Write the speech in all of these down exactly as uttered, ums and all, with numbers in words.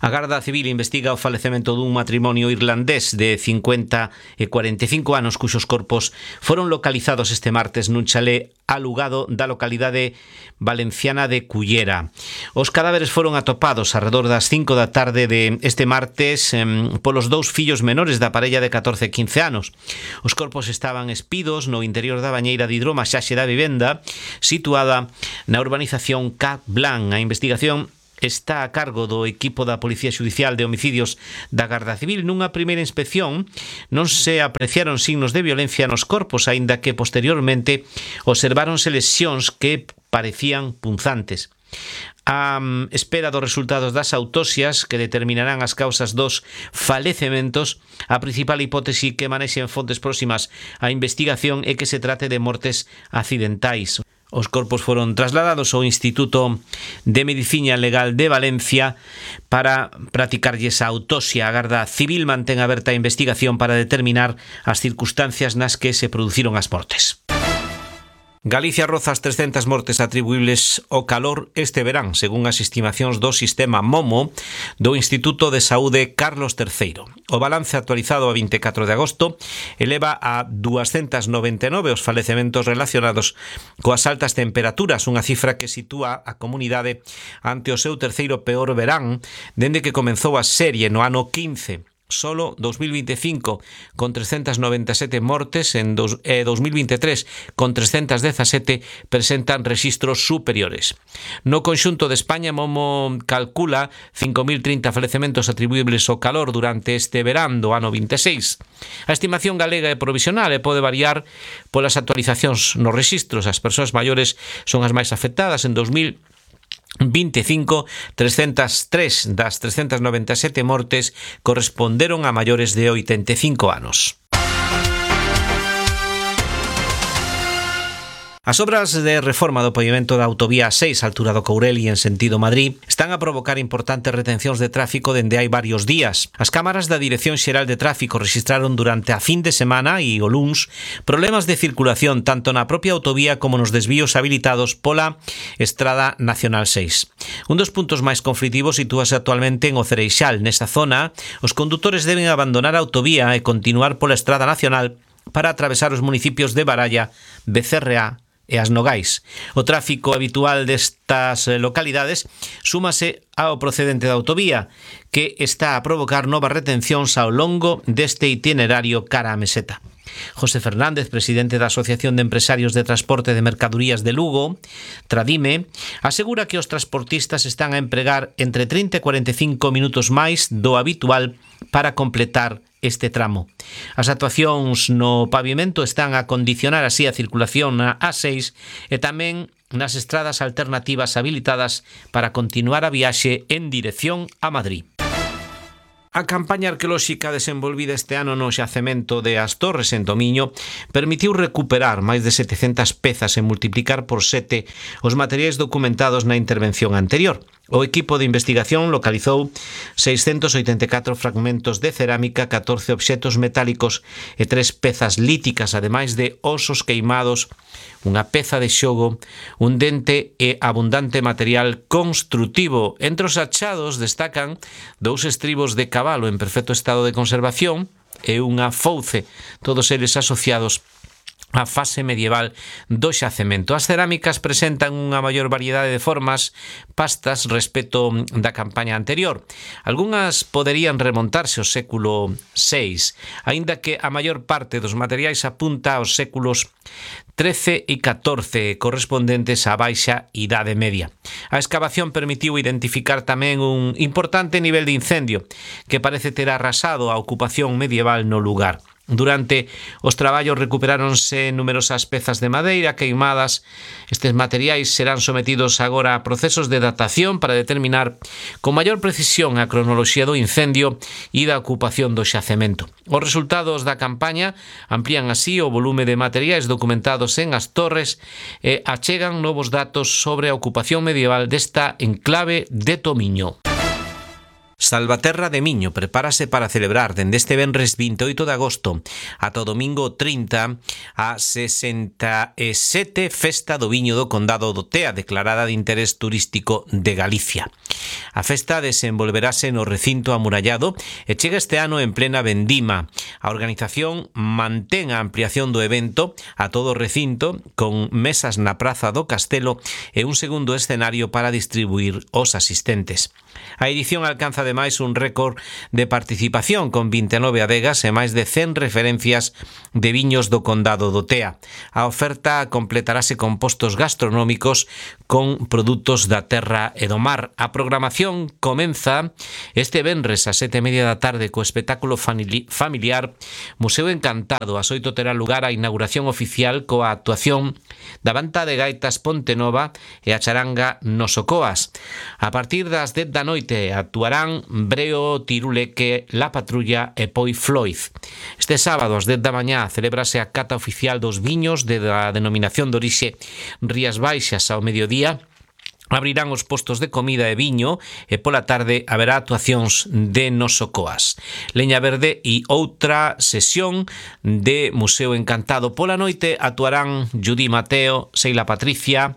A Garda Civil investiga o falecemento dun matrimonio irlandés de cincuenta e cuarenta e cinco anos cuxos corpos foron localizados este martes nun chalé alugado da localidade valenciana de Cullera. Os cadáveres foron atopados arredor das cinco da tarde de este martes eh, polos dous fillos menores da parella de catorce e quince anos. Os corpos estaban espidos no interior da bañeira de hidromasaxe da vivenda situada na urbanización Cap Blanc. A investigación está a cargo do equipo da Policía Xudicial de Homicidios da Garda Civil. Nunha primeira inspección non se apreciaron signos de violencia nos corpos, aínda que posteriormente observáronse lesións que parecían punzantes. A espera dos resultados das autopsias que determinarán as causas dos falecementos, a principal hipótese que manexen fontes próximas á investigación é que se trate de mortes accidentais. Os corpos foron trasladados ao Instituto de Medicina Legal de Valencia para practicarlles a autopsia. A Garda Civil mantén aberta a investigación para determinar as circunstancias nas que se produciron as mortes. Galicia roza as trescentas mortes atribuíbles ao calor este verán, según as estimacións do sistema MOMO do Instituto de Saúde Carlos terceiro. O balance actualizado a vinte e catro de agosto eleva a duascentas noventa e nove os falecementos relacionados coas altas temperaturas, unha cifra que sitúa a comunidade ante o seu terceiro peor verán dende que comenzou a serie no ano quince. Solo dos mil vinte e cinco con trescentas noventa e sete mortes en dos, eh, dos mil vinte e tres con trescentas dezasete presentan rexistros superiores. No conxunto de España, Momo calcula cinco mil trinta falecementos atribuíbles ao calor durante este verán do ano vinte e seis. A estimación galega é provisional e pode variar polas actualizacións nos rexistros. As persoas maiores son as máis afectadas. En dos mil vinte e cinco, trescentas tres das trescentas noventa e sete mortes corresponderon a maiores de oitenta e cinco anos. As obras de reforma do pavimento da autovía seis, altura do Courel e en sentido Madrid, están a provocar importantes retencións de tráfico dende hai varios días. As cámaras da Dirección Xeral de Tráfico registraron durante a fin de semana e o luns problemas de circulación tanto na propia autovía como nos desvíos habilitados pola Estrada Nacional seis. Un dos puntos máis conflitivos sitúase actualmente en O Cereixal. Nesta zona, os condutores deben abandonar a autovía e continuar pola Estrada Nacional para atravesar os municipios de Baralla, Becerreá e as Nogais. O tráfico habitual destas localidades súmase ao procedente da autovía, que está a provocar novas retencións ao longo deste itinerario cara á meseta. José Fernández, presidente da Asociación de Empresarios de Transporte de Mercadorías de Lugo, Tradime, asegura que os transportistas están a empregar entre trinta e cuarenta e cinco minutos máis do habitual para completar este tramo. As actuacións no pavimento están a condicionar así a circulación na A seis e tamén nas estradas alternativas habilitadas para continuar a viaxe en dirección a Madrid. A campaña arqueolóxica desenvolvida este ano no xacemento de As Torres en Tomiño permitiu recuperar máis de setecentas pezas e multiplicar por sete os materiais documentados na intervención anterior. O equipo de investigación localizou seiscentos oitenta e catro fragmentos de cerámica, catorce obxetos metálicos e tres pezas líticas, ademais de osos queimados, unha peza de xogo, un dente e abundante material construtivo. Entre os achados destacan dous estribos de cabalo en perfecto estado de conservación e unha fouce, todos eles asociados a fase medieval do xacemento. As cerámicas presentan unha maior variedade de formas, pastas respecto da campaña anterior. Algúnas poderían remontarse ao século seis, aínda que a maior parte dos materiais apunta aos séculos trece e catorce, correspondentes á baixa idade media. A escavación permitiu identificar tamén un importante nivel de incendio que parece ter arrasado a ocupación medieval no lugar. Durante os traballos recuperáronse numerosas pezas de madeira queimadas. Estes materiais serán sometidos agora a procesos de datación para determinar con maior precisión a cronoloxía do incendio e da ocupación do xacemento. Os resultados da campaña amplían así o volume de materiais documentados en As Torres e achegan novos datos sobre a ocupación medieval desta enclave de Tomiño. Salvaterra de Miño prepárase para celebrar dende este venres vinte e oito de agosto ata o domingo trinta a sesenta e sete Festa do Viño do Condado do Tea, declarada de interés turístico de Galicia. A festa desenvolverase no recinto amurallado e chega este ano en plena vendima. A organización mantén a ampliación do evento a todo o recinto con mesas na praza do Castelo e un segundo escenario para distribuir os asistentes. A edición alcanza ademais un récord de participación con vinte e nove adegas e máis de cen referencias de viños do condado do Tea. A oferta completarase con postos gastronómicos con produtos da terra e do mar. A programación comeza este venres a sete e media da tarde co espectáculo familiar Museo Encantado. Ás oito terá lugar a inauguración oficial coa actuación da Banda de Gaitas Pontenova e a charanga Nosocoas. A partir das dez da noite actuarán Breo, Tiruleque, La Patrulla e Poi Floyd. Este sábado ás dez da mañá celébrase a cata oficial dos viños de da denominación de orixe Rías Baixas. Ao mediodía abrirán os postos de comida e viño e pola tarde haberá actuacións de Nosocoas. Leña Verde e outra sesión de Museo Encantado. Pola noite actuarán Judy Mateo, Seila Patricia,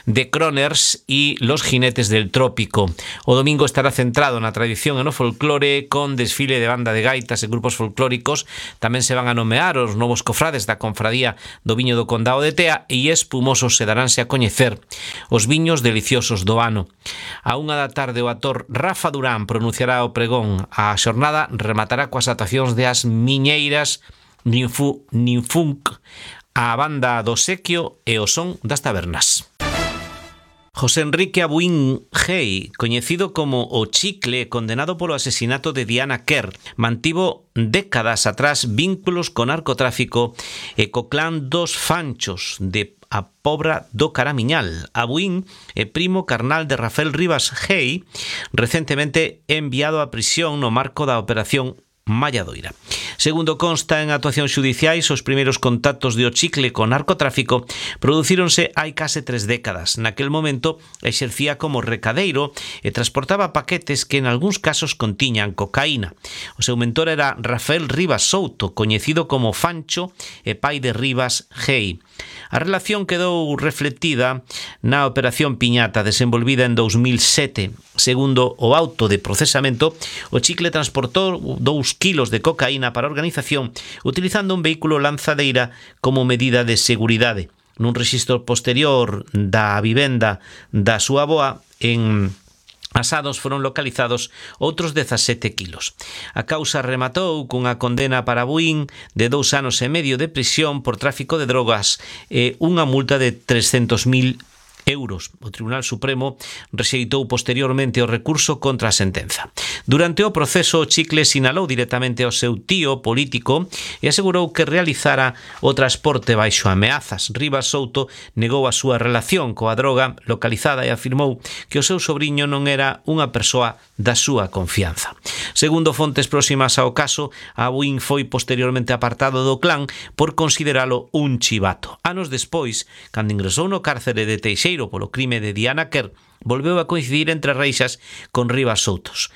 The Croners e Los Jinetes del Trópico. O domingo estará centrado na tradición e no folclore con desfile de banda de gaitas e grupos folclóricos. Tamén se van a nomear os novos cofrades da Confradía do Viño do Condado de Tea e espumosos se daránse a coñecer os viños deliciosos do ano. A unha da tarde o actor Rafa Durán pronunciará o pregón. A xornada rematará coas actuacións de As Miñeiras, Ninfu, Ninfunk, a banda do Sequio e o Son das Tabernas. José Enrique Abuín Gei, coñecido como o Chicle, condenado polo asesinato de Diana Kerr, mantivo décadas atrás vínculos co narcotráfico e co clan dos Fanchos de a Pobra do Caramiñal. Abuín é primo carnal de Rafael Rivas Gei, recentemente enviado a prisión no marco da Operación Malladoira. Segundo consta en actuacións xudiciais, os primeiros contactos de o Chicle con narcotráfico producíronse hai case tres décadas. Naquel momento exercía como recadeiro e transportaba paquetes que en algúns casos contiñan cocaína. O seu mentor era Rafael Rivas Souto, coñecido como Fancho e pai de Rivas Gei. A relación quedou reflectida na Operación Piñata, desenvolvida en dous mil sete. Segundo o auto de procesamento, o Chicle transportou dous kilos de cocaína para a organización utilizando un vehículo lanzadeira como medida de seguridade. Nun rexistro posterior da vivenda da súa avoa en Asados foron localizados outros dezasete kilos. A causa rematou cunha condena para Abuín de dous anos e medio de prisión por tráfico de drogas e unha multa de trescentos mil euros. O Tribunal Supremo rexeitou posteriormente o recurso contra a sentenza. Durante o proceso, o Chicle sinalou directamente ao seu tío político e asegurou que realizara o transporte baixo ameazas. Rivas Souto negou a súa relación coa droga localizada e afirmou que o seu sobriño non era unha persoa da súa confianza. Segundo fontes próximas ao caso, Abuín foi posteriormente apartado do clan por consideralo un chivato. Anos despois, cando ingresou no cárcere de Teixeiro polo crime de Diana Kerr, volveu a coincidir entre reixas con Rivas Soutos.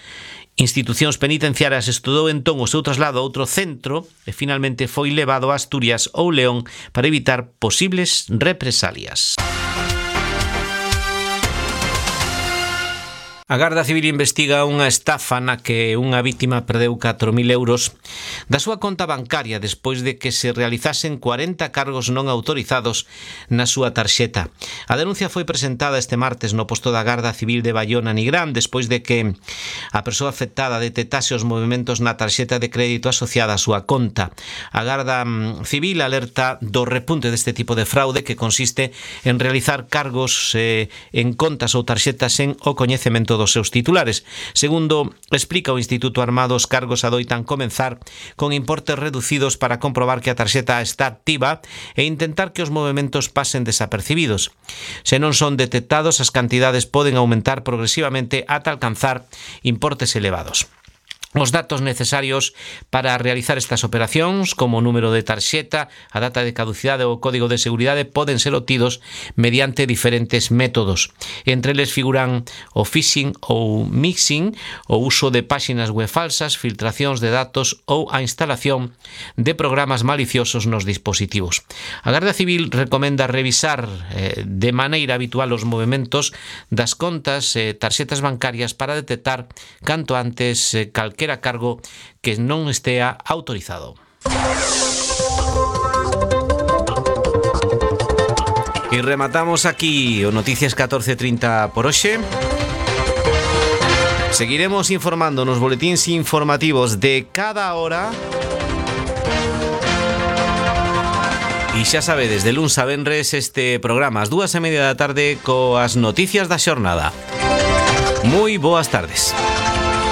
Institucións penitenciarias estudou entón o seu traslado a outro centro e finalmente foi levado a Asturias ou León para evitar posibles represalias. A Garda Civil investiga unha estafa na que unha vítima perdeu catro mil euros da súa conta bancaria despois de que se realizasen cuarenta cargos non autorizados na súa tarxeta. A denuncia foi presentada este martes no posto da Garda Civil de Baiona Nigrán despois de que a persoa afectada detectase os movimentos na tarxeta de crédito asociada á súa conta. A Garda Civil alerta do repunte deste tipo de fraude que consiste en realizar cargos eh, en contas ou tarxetas sen o coñecemento dos seus titulares. Segundo explica o Instituto Armado, os cargos adoitan comenzar con importes reducidos para comprobar que a tarxeta está activa e intentar que os movimentos pasen desapercibidos. Se non son detectados, as cantidades poden aumentar progresivamente ata alcanzar importes elevados. Os datos necesarios para realizar estas operacións, como o número de tarxeta, a data de caducidade ou o código de seguridade, poden ser obtidos mediante diferentes métodos. Entre eles figuran o phishing ou mixing, o uso de páxinas web falsas, filtracións de datos ou a instalación de programas maliciosos nos dispositivos. A Garda Civil recomenda revisar eh, de maneira habitual os movementos das contas e eh, tarxetas bancarias para detectar canto antes eh, calquera a cargo que non estea autorizado. E rematamos aquí o Noticias catorce trinta por hoxe. Seguiremos informando nos boletíns informativos de cada hora. E xa sabedes, de luns a venres este programa ás dúas e media da tarde coas noticias da xornada. Moi boas tardes.